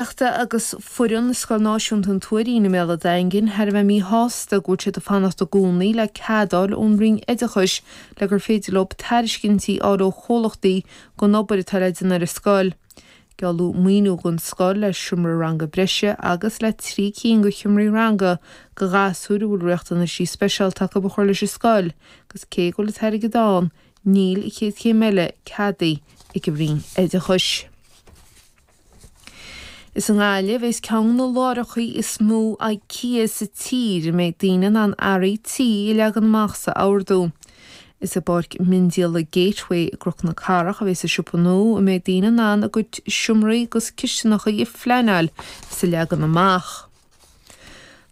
Bainistíochta agus foireann Scoil Náisiúnta an Tuairín i mBéal an Daingin thar a bheith míshásta go bhfuil siad ag fanacht i gcónaí le cead a fháil ón Roinn Oideachais le gur féidir leo tairiscintí a fháil ó chomhlachtaí don obair atá le déanamh ar an scoil. Gealladh maoiniú don scoil le seomra ranga breise agus le 3 cinn de sheomraí ranga do ghasúir a bhfuil riachtanaisí speisialta acu a chur leis an scoil agus cé go bhfuil an t-airgead ann níl an chéad chéim eile ceadaithe ag an Roinn Oideachais. Is i nGaillimh a bheas ceann de na láithreacha is mó IKEA sa tír a mbeidh daoine in ann earraí tí a leagan amach is a ordú. Is i bPáirc Miondíola Gateway i gCnoc na Cathrach a bheas an siopa nua a mbeidh daoine in ann a gcuid seomraí agus cistineacha a phleanáil is a leagan amach.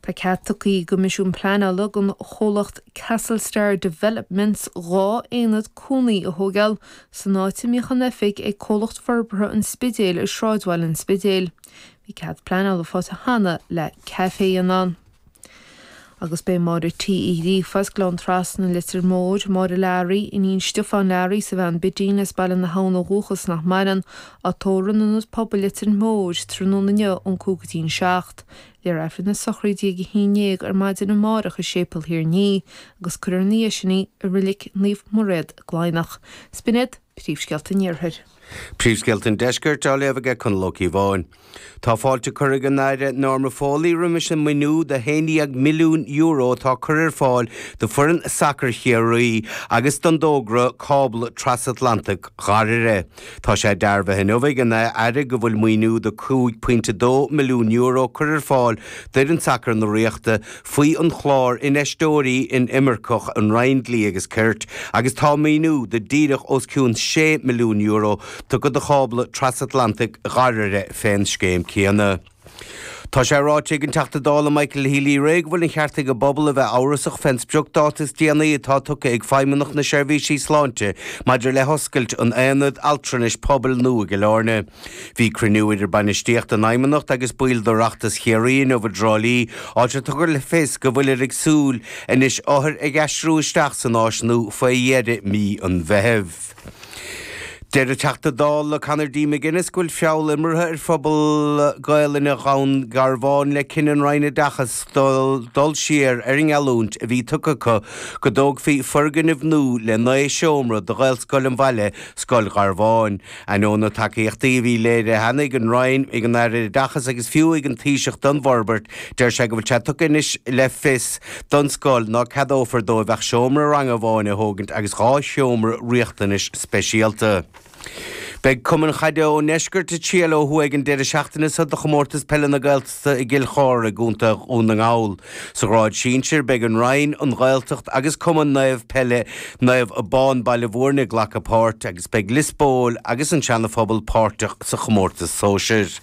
Tá cead tugtha ag an gCoimisiún Pleanála don chomhlacht Castlestar Developments 2 aonad cónaí a thóigeáil san áit a mbíodh an oifig ag Comhlacht Forbartha an Spidéil i sráidbhaile an Spidéil. Bhí cead pleanála faighte cheana le caifé a dhéanamh ann. Agus beidh Máire T. Uí Ghríofa as Gleann Trasna, Leitir Móir, Máire Learaí, iníon Stiofáin Learaí is a bhean Bidín as Baile na hAbhann ó dhúchas nach maireann, á tórramh in Ionad Pobail Leitir Móir tráthnóna inniu ón 5 go dtí an 7. Léifear Aifreann na sochraide ag 11 ar maidin amárach i Séipéal Thír an Fhia agus cuirfear ina dhiaidh sin í i Reilig Naomh Mairéad i gCladhnach. 'S b'in iad príomhscéalta an Iarthair. Príomhscéalta an Deiscirt á léamh aige Conall Ó Cíobháin. Tá fáilte curtha ag an Aire Norma Foley roimis an maoiniú de €11 milliún atá curtha ar fáil do foireann sacair Chiarraí agus don dtógra Cábla Trasatlantach Dhoire. Tá sé dearbhaithe inniu ag an Aire go bhfuil maoiniú de €5.2 milliún curtha ar fáil d'fhoireann sacair na Ríochta faoi an chlár Infheisteoirí Inimirceach an Roinn Dlí agus Cirt agus tá maoiniú de díreach os cionn €6 milliún tugtha do chábla trasatlantaigh Dhoire fén scéim céanna. Tá sé ráite ag an Teachta Dála Michael Healy-Rae go bhfuil an cheart ag an bpobal a bheith amhrasach fén spriocdáta is déanaí atá tugtha ag Feidhmeannacht na Seirbhísí Sláinte maidir le hoscailt an Aonad Altranais Pobail nua i gCill Airne. Bhí cruinniú idir bainistíocht an Fheidhmeannacht agus baill d'Oireachtas Chiarraí inniu i dTrá Lí, áit ar tugadh le fios go bhfuiltear ag súil anois othair ag aistriú isteach san áis nua faoi dheireadh mí an Mheithimh. Deir an Teachta Dála Conor D. McGuinness go bhfuil feall imeartha ar phobal Gaelainne Dhún Garbhán le cinneadh an Roinn Oideachais dul siar ar an ngeallúint a bhí tugtha acu go dtógfaí foirgneamh nua le 9 seomra do Ghaelscoil an bhaile, Scoil Gharbháin. Ainneoin na tacaíochtaí a bhí léirithe cheana ag an Roinn, ag an Aire Oideachais agus fiú ag an Taoiseach don bhforbairt, deir sé go bhfuil sé tugtha anois le fios don scoil ná ceadófar dóibh ach seomra ranga amháin a thógaint agus 2 sheomra riachtanais speisialta. Beidh cumainn chaide ón ndeisceart ag triall ó thuaidh an deireadh seachtaine seo do Chomórtas Peile na Gaeltachta i gCill Chartha i gContae Dhún na nGall. Sa ghrád sinsir, beidh an Rinn, an Ghaeltacht agus Cumann Naomh Peile Naomh Abán Baile Bhúirne ag glacadh páirt agus beidh Lios Póil agus an Seana-Phobal páirteach sa chomórtas sóisir.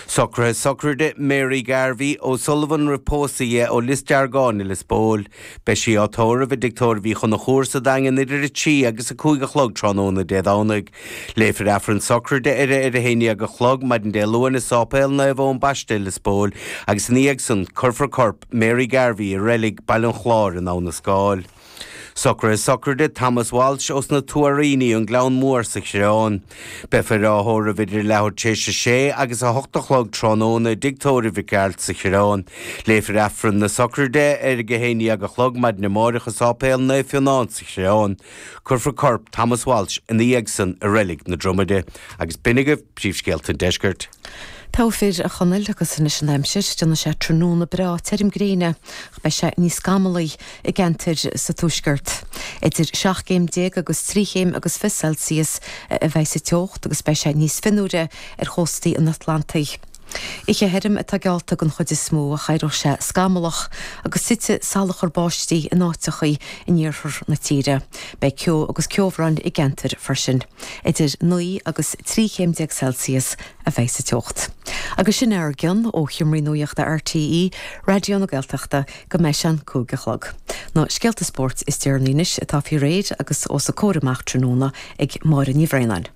Socruithe sochraide Mary Garvey O'Sullivan roimh pósadh dhi ó Lios Deargáin i Lios Póil. Beidh sí á tórramh i dTigh Tórraimh Uí Chonchúir sa Daingean idir 3 agus 5 a chlog tráthnóna Dé Domhnaigh. Léifear Aifreann sochraide uirthi ar a 11 a chlog maidin Dé Luain i Sáipéal Naomh Eoin Baiste i Lios Póil agus ina dhiaidh san cuirfear corp Mary Garvey i Reilig Baile an Chláir in Abha na Scáil. Socruithe sochraide Thomas Walsh ós na Tuairíní, An Gleann Mór sa Choireán. Beifear á thórramh idir leathuair tar éis a sé agus a hocht a chlog tráthnóna i dTigh Tórraimh Mhic Gearailt sa Choireán. Léifear Aifreann na sochraide ar a 11 a chlog maidin amáireach i Sáipéal Naomh Fionán sa Choireán. Cuirfear corp Thomas Walsh ina dhiaidh san i Reilig na Dromaide. Agus b'in agaibh príomhscéalta an deiscirt. Togha fir, a Chonaill, agus anois an aimsir. Déanfaidh sé tráthnóna breá tirim gréine ach beidh sé níos scamallaí i gceantair sa tuaisceart. Idir 17 céim agus 3 chéim agus 20 Celsius a bheidh sa teocht agus beidh sé níos fionnuaire ar chóstaí an Atlantaigh. Oíche thirim atá geallta den chuid is mó ach éireoidh sé scamallach agus titfidh salachar báistí in áiteachaí in iarthar na tíre. Beidh ceo agus ceobhrán i gceantair freisin. Idir 9 agus 13 chéim Celsius a bheidh sa teocht. Agus sin ár gcionn ó Sheomraí Nuachta RTÉ Raidió na Gaeltachta go mbeidh sé an 5 a chlog. Na scéalta spóirt is deireanaí anois atá faoi réir agus os a comhair amach tráthnóna ag Máire Ní Bhraonáin.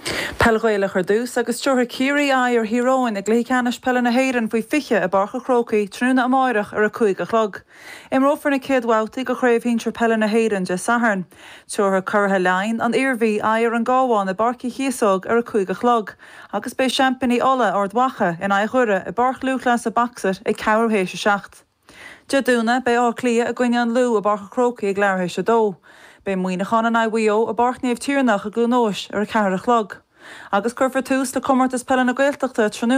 Peil Ghaelach ar dtús agus tabharfaidh Ciarraí aghaidh ar Thír Eoghain i gcluiche ceannais peile na hÉireann faoi 20 i bPáirc an Chrócaigh tráthnóna amáireach ar 5 a chlog. Imreofar na céad bhabhtaí de Chraobh Shinsir Peile na hÉireann Dé Sathairn. Tabharfaidh curaithe Laighean, an Iarmhí, aghaidh ar an gCabhán i bPáirc Uí Chíosóg ar 5 a chlog agus beidh seaimpíní Uladh, Ard Mhacha, in aghaidh Dhoire i bPáirc Lúthchleasa Boxit ag ceathrú théis 7. Dé Domhnaigh, beidh Áth Cliath i gcoinne an Lú i bPáirc an Chrócaigh ag leathuair théis 2. Beidh Muineachán in aghaidh Mhaigh Eo i bPáirc Naomh Tiarnach i gCluain Eois ar 4 a chlog. Agus cuirfear tús le Comórtas Peile na Gaeltachta tráthnóna.